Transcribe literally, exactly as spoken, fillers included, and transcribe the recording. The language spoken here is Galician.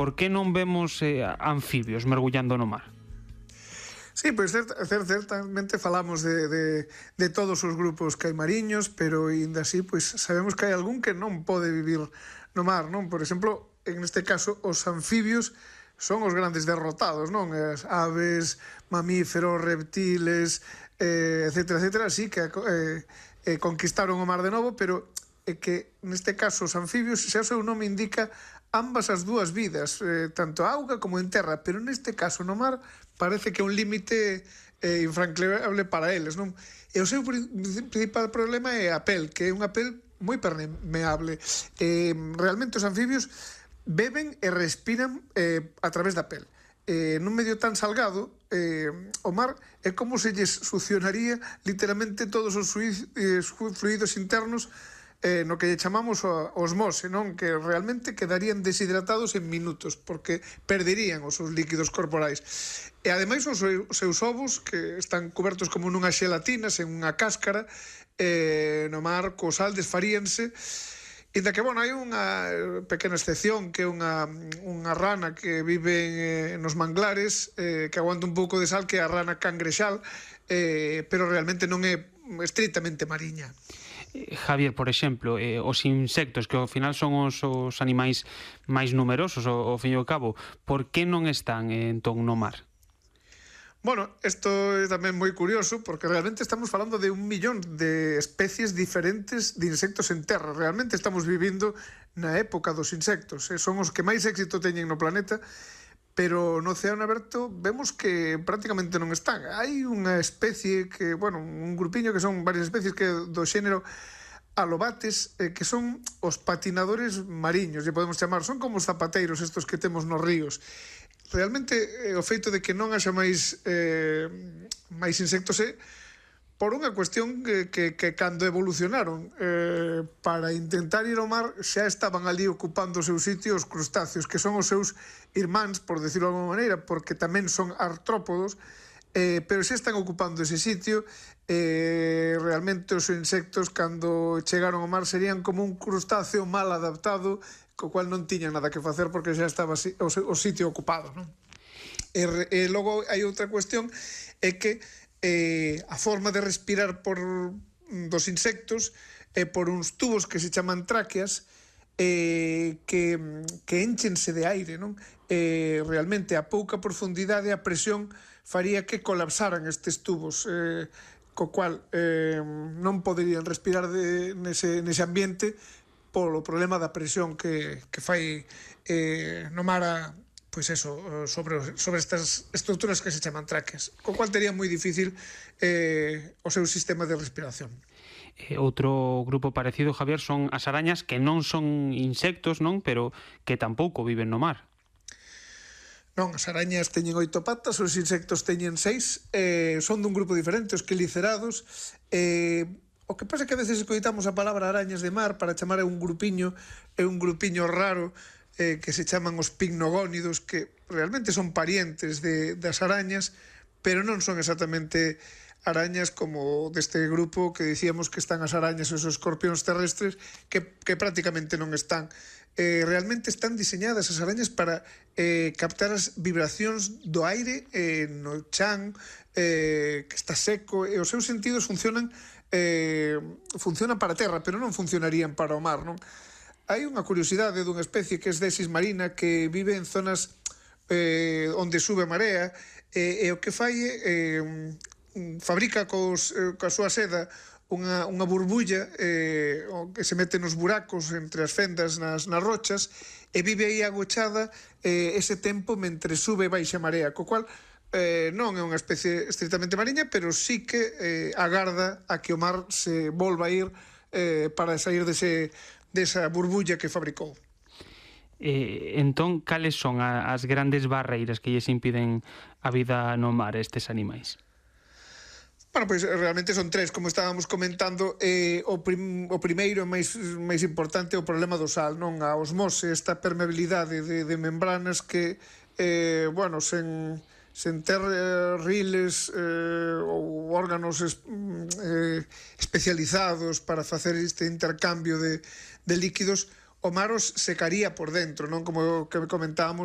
por que non vemos eh, anfibios mergullando no mar? Sí, pois cert, cert, certamente falamos de, de, de todos os grupos que hai mariños, pero ainda así pois, sabemos que hai algún que non pode vivir no mar, non? Por exemplo, en este caso, os anfibios son os grandes derrotados, non? As aves, mamíferos, reptiles, eh, etcétera, etcétera, así que eh, eh, conquistaron o mar de novo, pero é que neste caso os anfibios, xa o seu nome indica, ambas as dúas vidas, eh, tanto a auga como en terra, pero neste caso no mar parece que é un límite eh, infranqueable para eles, non? E o seu principal problema é a pel, que é unha pel moi permeable. Eh, realmente os anfibios beben e respiran eh, a través da pel. Eh, nun medio tan salgado, eh, o mar é como se lles succionaría literalmente todos os fluidos internos, eh, no que lle chamamos a osmose, non? Que realmente quedarían deshidratados en minutos, porque perderían os seus líquidos corporais. E ademais os seus ovos, que están cobertos como nunha xelatina, sen unha cáscara, eh, no mar co sal desfaríanse. Inda que, bueno, hai unha pequena excepción, que é unha, unha rana que vive eh, nos manglares, eh, que aguanta un pouco de sal, que é a rana cangrexal, eh, pero realmente non é estritamente mariña. Javier, por exemplo, eh, os insectos, que ao final son os, os animais máis numerosos, ao, ao fin e ao cabo, por que non están eh, entón no mar? Bueno, isto é tamén moi curioso, porque realmente estamos falando de un millón de especies diferentes de insectos en terra. Realmente estamos vivindo na época dos insectos, eh? Son os que máis éxito teñen no planeta, pero no océano aberto vemos que prácticamente non están. Hai unha especie que, bueno, un grupiño que son varias especies que do xénero alobates, eh, que son os patinadores mariños, lle podemos chamar, son como os zapateiros estos que temos nos ríos. Realmente eh, o feito de que non haxa máis eh, máis insectos é por unha cuestión que, que, que cando evolucionaron eh, para intentar ir ao mar xa estaban ali ocupando o seu sitio os crustáceos, que son os seus irmáns, por decirlo de alguma maneira, porque tamén son artrópodos, eh, pero xa están ocupando ese sitio. Eh, realmente os insectos cando chegaron ao mar serían como un crustáceo mal adaptado, co cual non tiñan nada que facer porque xa estaba o, o sitio ocupado, non? E, e logo hai outra cuestión, é que eh, a forma de respirar por dos insectos é por uns tubos que se chaman tráqueas, eh, que, que enchense de aire, non? Eh, realmente a pouca profundidade, a presión faría que colapsaran estes tubos, eh, co cual eh, non poderían respirar de, nese, nese ambiente polo problema da presión que, que fai eh, no mar a, pois eso, sobre, sobre estas estruturas que se chaman tráqueas, co cual tería moi difícil eh, o seu sistema de respiración. Eh, outro grupo parecido, Javier, son as arañas, que non son insectos, non? Pero que tampouco viven no mar. Non, as arañas teñen oito patas, os insectos teñen seis, eh, son dun grupo diferente, os quelicerados. Eh, o que pasa é que a veces escoitamos a palabra arañas de mar para chamar a un grupiño, é un grupiño raro, eh, que se chaman os picnogónidos, que realmente son parientes de, das arañas, pero non son exactamente arañas como deste grupo que dicíamos que están as arañas e os escorpións terrestres, que, que prácticamente non están. Eh, realmente están diseñadas as arañas para eh, captar as vibracións do aire eh, no chan, eh, que está seco, e os seus sentidos funcionan eh, funcionan para a terra, pero non funcionarían para o mar, non? Hai unha curiosidade dunha especie que é Desis marina, que vive en zonas eh, onde sube a marea, e, e o que fai é eh, fabrica cos, eh, coa súa seda unha, unha burbulla eh, que se mete nos buracos entre as fendas nas, nas rochas, e vive aí agochada eh, ese tempo mentre sube e baixa a marea, co cual eh, non é unha especie estritamente mariña, pero sí que eh, agarda a que o mar se volva a ir eh, para sair dese, desa burbulla que fabricou. Eh, entón, cales son a, as grandes barreiras que lles impiden a vida no mar estes animais? Bueno, pois realmente son tres, como estábamos comentando. eh, o, prim, o primeiro máis, máis importante é o problema do sal, non? A osmose, esta permeabilidade de, de membranas que, eh, bueno, sen, sen ter eh, riles eh, ou órganos es, eh, especializados para facer este intercambio de, de líquidos, o mar os secaría por dentro, non? Como que comentábamos